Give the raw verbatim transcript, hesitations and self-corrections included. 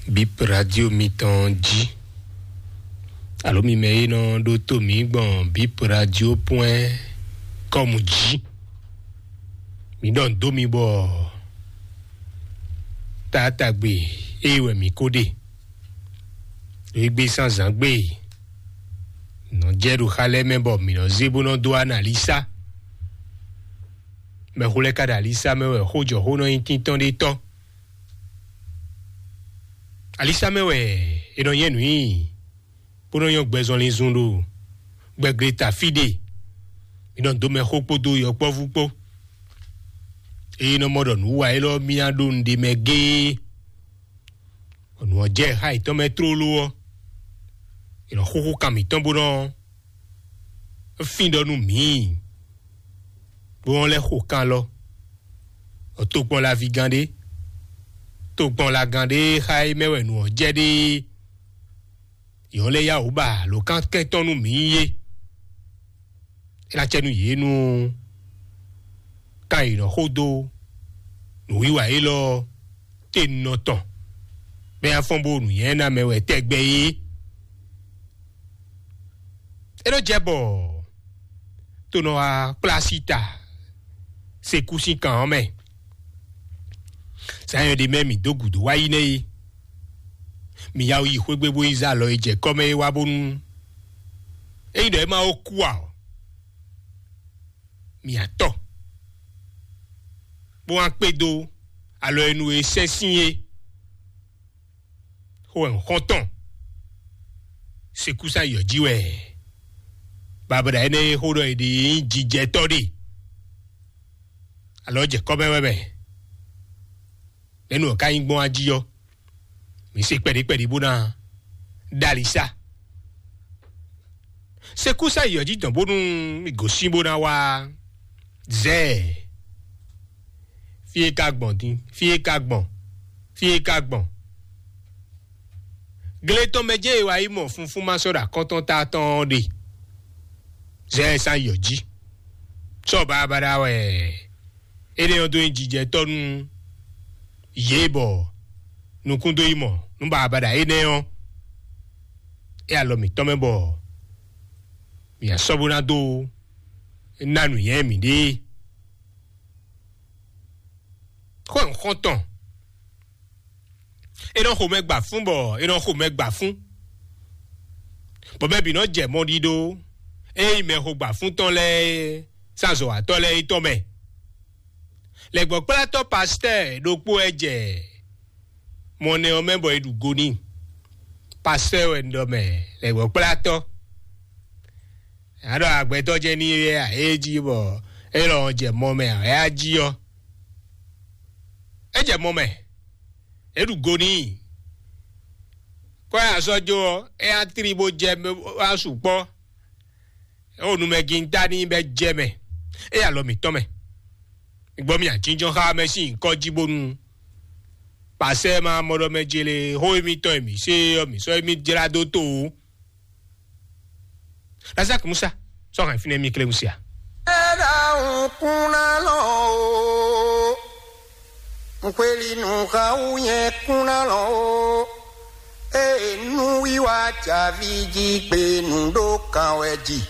Bip Radio mitɔn jí. Alo mi mɛ e nɔ ɖótó mǐ gbɔn Bip Radio point com jí. Mi ɖɔ nǔ dó mi bɔ taatagbe ée wɛ mǐ ko ɖe. Ɖo égbé zǎnzǎn gbe nɔ jɛ ɖo xa lɛ́ɛ mɛ bɔ mǐ nɔ zé bó nɔ dó analisa. Mɛxó lɛ́ɛ ka ɖo alisa mɛ wɛ xó jɔ xó nɔ nyí tíntɔ́n ɖé tɔ́. Alisa mɛ wɛ è nɔ nyɛ nǔ nyi, bó nɔ nyɔ́ gbɛzɔnlin zun ɖo gbɛgble ta fí ɖe. Mi nɔ dó mɛ xó kpódó yɔkpɔ́vú kpó. Eye nɔ mɔ ɖɔ nǔ wa élɔ́ mì ná ɖó nǔɖé mɛ géé. Nǔ ɔ́ jɛ xá yětɔn mɛ tlóló ɔ́, è nɔ xúxú kan mǐtɔn bó nɔ fín ɖɔ nú mǐ, bó nɔ lɛ́ xo kan lɔ. Tokpɔn laví gán ɖé, tokpɔn la gán ɖé xá é mɛ wɛ nǔ ɔ́ jɛ ɖe. Yě ɔ́ lɛ́ yá wǔ ba lǒ kan kɛntɔ́ nú mǐ é. É ná cɛ nú yě nú kan yě nɔ xó dó nǔwiwa élɔ́ te nɔ tɔn, bɔ é ná fɔ́n bó nǔnywɛ́ ná mɛ wɛ tɛgbɛ é. É nɔ jɛ bɔ to nɔ wá kplá sí ta sekú sín kan ɔ́ mɛ. Zǎn nyɔ̌ɖi mɛ mǐ dó gǔdo wá yi nɛ́ é. Mǐ ya yi xwé gbe bó yi zé alɔ e jɛ kɔ́ mɛ é wá bónú ényí ɖɔ é ma ó kú ǎ ɔ́, mǐ atɔ bó wá kpé dó alɔ e nu e sɛ́n sín é. Xó wɛ un xɔ́n tɔn. Sekúsa yɔ jí wɛ babɔɖa énɛ́ e xó ɖɔ è ɖe é nyí jijɛtɔ́ ɖe. Alɔ jɛ kɔ́ mɛ wɛ mɛ. Mɛ̌nu ɔ́ ka nyí gbɔn ají ɔ́, mǐ se kpɛɖí kpɛɖí bó ná ɖó ali sá. Sekúsa yi ɔ́ jí dɔn bónú mì gosín bó ná wá zɛ. Fí é ka gbɔn dín, fí é ka gbɔn, fí é ka gbɔn. Gle tɔn mɛ jẹ́ è wá yi mɔ funfún ma sɔ́ ɖo akɔ́ntɔn ta tɔn ɔ́ ɖe. Zɛ ɛ sán yi ɔ́ jí. Sɔ baɖabaɖa wɛ énɛ́ ɔ́ dó nyí jijɛtɔ́ nú yě bɔ nukún dó yi mɔ nú baɖabaɖa énɛ́ ɔ́. É alɔ mǐtɔn mɛ bɔ mǐ asɔ́ bó ná dó ná nǔnywɛ́ mǐɖée. Xó e un xɔ́n tɔn, é nɔ xo mɛ gba fún bɔ é nɔ xo mɛ gba fún, bɔ mɛ bǐ nɔ jɛ mɔ ɖiɖó ényí mɛ xo gba fún tɔn lɛ́ɛ é, sán azɔ̌watɔ́ lɛ́ɛ é tɔn mɛ. Lɛ̌gbɔ́kplátɔ́ pastɛ́ɛ ɖokpó wɛ jɛ mɔ nɛ ɔ́ mɛ bɔ è ɖu go n'i. Pastɛ́ɛ wɛ un ɖɔ mɛ, lɛ̌gbɔ́kplátɔ́. A ɖɔ agbɛtɔ́ jɛ ní é jí bɔ é lɔ jɛ mɔ mɛ ǎ, é á jí ɔ́. É jɛ mɔ mɛ, é ɖu go n'i. Kɔ́ ɛ azɔ́ jó ɔ́, é á tlí bó jɛ wá sukpɔ́. É wo numɛgintá n'i bɛ́ jɛ mɛ, é alɔ mǐtɔn mɛ. Gbɔ mì ajínjɔ́n xá mɛ sín nyǐkɔ jí bónú pasɛ ma mɔ ɖɔ mɛ jele xó émítɔn e mǐ se ɔ́, mǐ sɔ́ émí jlá dó to ó. Lazaki Musa sɔ́ hɛn fínɛ́ mì klé Musa. Eda un kuna lɔ o, nkweli nu xa wu nyɛ kuna lɔ o. Ee nu wiwa javi ji gbe nu ɖo kan wɛ ji.